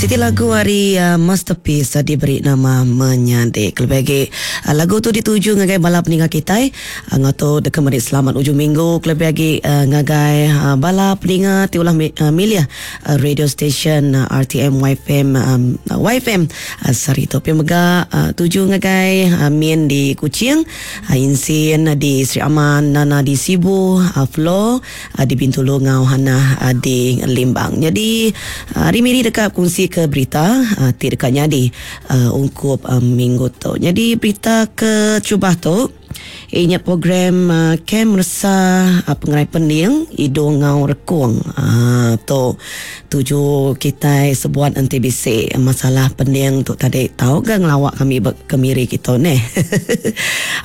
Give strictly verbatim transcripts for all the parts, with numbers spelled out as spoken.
Siti lagu ari uh, Masterpiece uh, diberi nama Menyadi. Kelebih agi uh, lagu tu dituju ngagai bala peninga kitai. Uh, ngau tu deka meri selamat ujung minggu kelebih agi uh, ngagai uh, bala peninga ti ulah mi, uh, milih uh, radio station uh, R T M Y F M um, Y F M uh, sehari tu. Pia mega uh, tuju ngagai uh, Min di Kuching, uh, Insin di Sri Aman, Nana di Sibu, uh, Flo uh, di Bintulu ngau Hana uh, di Limbang. Jadi uh, hari miri dekat kongsi ke berita uh, ti dekat nyadi uh, ungkup uh, minggu tu. Jadi berita ke cubah tu inya program uh, Kem Resa uh, Pengerai Pening Idung Ngau Rekung. Uh, tu tuju kita sebuat N T B C masalah pening tu tadi tahu ke ngelawak kami kemiri kita ni.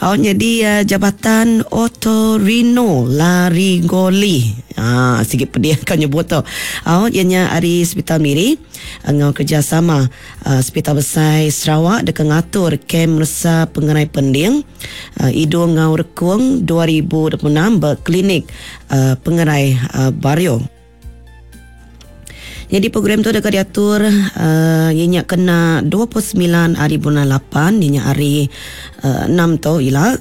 Oh, jadi uh, Jabatan Otorino Laringoli. Ah, sikit pedih kan nyebut tu. Oh, ianya hari Hospital Miri ngau kerjasama uh, Hospital Besar Sarawak dekat ngatur Kem Resa Pengerai Pending uh, Idung Ngau Rekung dua ribu dua puluh enam berklinik uh, Pengerai uh, Bario. Jadi program tu dekat diatur uh, ianya kena dua puluh semilan hari bulan lapan, ianya hari uh, enam tu ila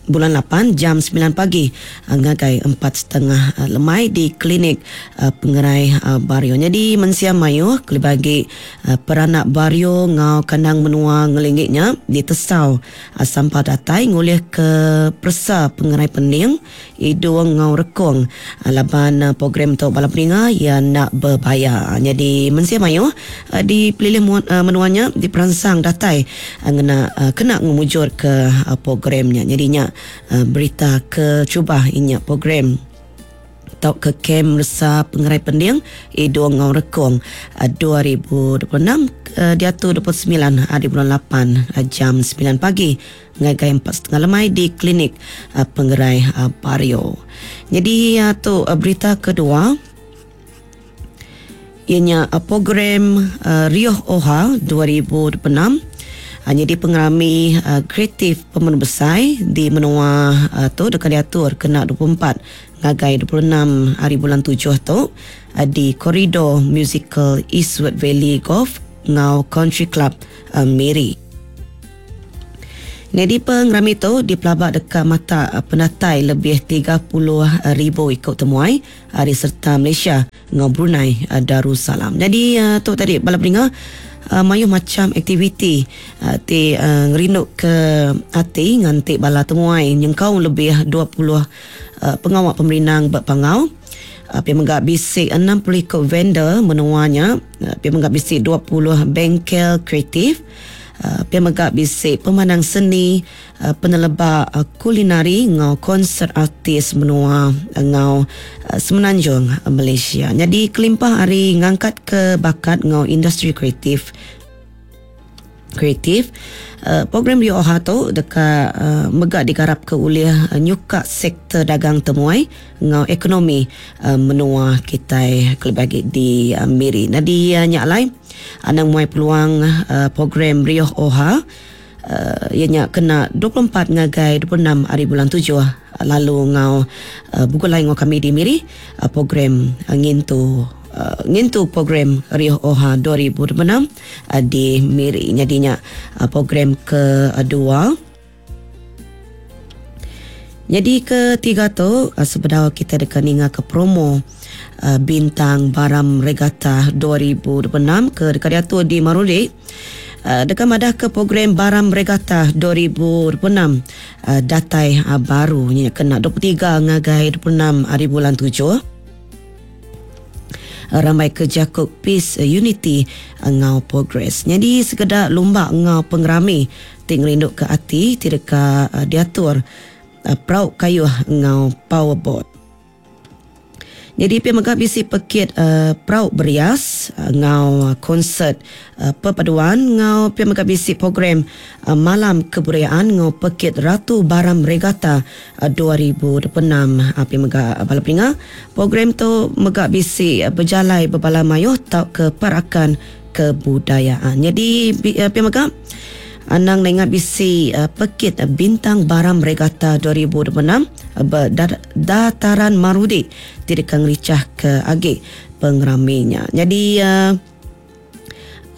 bulan lapan jam sembilan pagi uh, ngagai empat tiga puluh uh, lemai di klinik uh, Pengerai uh, Bario. Jadi mensia mayu bagi uh, peranak Bario ngau kandang menua ngelingiknya di Tesau uh, sampah datai ngulih ke persa Pengerai Pening Idung ngau Rekung uh, laban uh, program tu bala peninga ia nak berbayar. Jadi mensia mayu uh, di pelilih uh, menuanya di perangsang datai uh, ngena uh, kena ngemujur ke uh, programnya. Jadinya uh, berita ke cubah inya program atau ke Kem Resa Pengerai Pending Idung Ngau Rekung uh, dua ribu dua puluh enam uh, diatur dua puluh semilan hari bulan lapan uh, jam sembilan pagi ngagai empat tiga puluh lemai di klinik uh, Pengerai uh, Bario. Jadi uh, tu uh, berita kedua ianya uh, program uh, Rioh Oha dua ribu dua puluh enam. Hanya di pengerami uh, kreatif pemenang besar di menua uh, tu dekat diatur kena dua puluh empat ngagai dua puluh enam hari bulan tujuh tu uh, di koridor musical Eastwood Valley Golf ngau Country Club uh, Miri. Jadi pengerami tu di pelabak dekat mata penatai lebih tiga puluh ribu ikut temuai hari serta Malaysia ngau Brunei Darussalam. Jadi tu tadi bala peninga uh, mayuh macam aktiviti uh, ti uh, ngerinduk ke hati nganti bala temuai nyengkau lebih dua puluh uh, pengawak pemerinang berpangau. Uh, Pia menggak bisik enam puluh ikut vendor menuanya. Uh, Pia menggak bisik dua puluh bengkel kreatif. Uh, Pia menggak bisik pemanang seni, uh, penelebak uh, kulinari ngau konsert artis menua uh, ngau uh, Semenanjung uh, Malaysia. Jadi kelimpah hari ngangkat ke bakat ngau industri kreatif kreatif uh, program Rio Oha tu dekat uh, megak digarap ke uliah uh, nyuka sektor dagang temuai ngau ekonomi uh, menua kita kelebih di uh, Miri. Nadi uh, nyak lai anang muai peluang uh, program Rio Oha uh, ianya kena dua puluh empat ngagai dua puluh enam hari bulan tujuh lalu ngau uh, buku lain ngau kami di Miri uh, program uh, ngintu uh, ngintu program Rio Oha dua ribu dua puluh enam uh, di Miri. Jadinya uh, program kedua. Jadi ketiga tu uh, sebenar kita dekat ninga ke promo uh, Bintang Baram Regata dua ribu dua puluh enam ke dekat diatur di Marudi. Uh, dekat madah ke program Baram Regata dua ribu dua puluh enam uh, datai uh, baru ni kena dua puluh tiga ngagai dua puluh enam hari bulan tujuh ramai kerja Cook Peace Unity ngau Progress. Jadi sekedar lumba ngau pengerami ting rinduk ke hati tidak ke uh, diatur uh, perahu kayu ngau powerboat. Jadi pihak megah bisi pekit uh, perahu berias uh, ngau konsert uh, perpaduan ngau pihak megah bisi program uh, malam kebudayaan ngau pekit Ratu Baram Regata uh, dua ribu dua puluh enam uh, pihak megah uh, bala peninga program tu megah bisi uh, berjalai berbala mayuh tau ke parakan kebudayaan. Jadi uh, pihak megah Anang nengat bisi uh, pekit uh, Bintang Baram Regata dua ribu dua puluh enam uh, dataran Marudi tidak ricah ke agi pengeraminya. Jadi uh,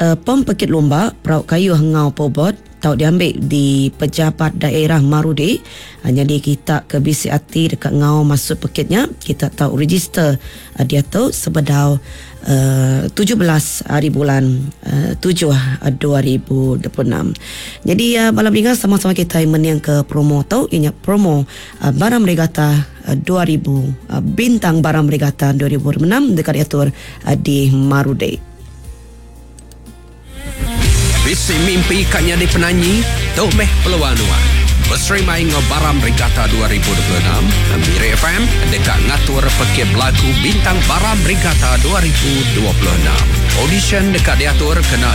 uh, pom pekit lumba perau kayuh ngau powerboat tau diambil di pejabat daerah Marudi. Uh, jadi kita ke bisi ati dekat ngau masuk pekitnya, kita tau register uh, dia tu sebedau uh, tujuh belas hari bulan uh, tujuh dua ribu dua puluh enam. Jadi uh, bala peninga, sama-sama kita meniang ke promo tu, ianya promo uh, Baram Regatta uh, dua ribu uh, Bintang Baram Regatta dua ribu enam dekat diatur uh, di Marudi. Bisi mimpi katnya di penanyi, tu meh peluang nuan. Beserimai ngau Baram Regatta dua ribu dua puluh enam, Miri F M dekat ngatur pekit belagu Bintang Baram Regatta dua ribu dua puluh enam. Audition dekat diatur kena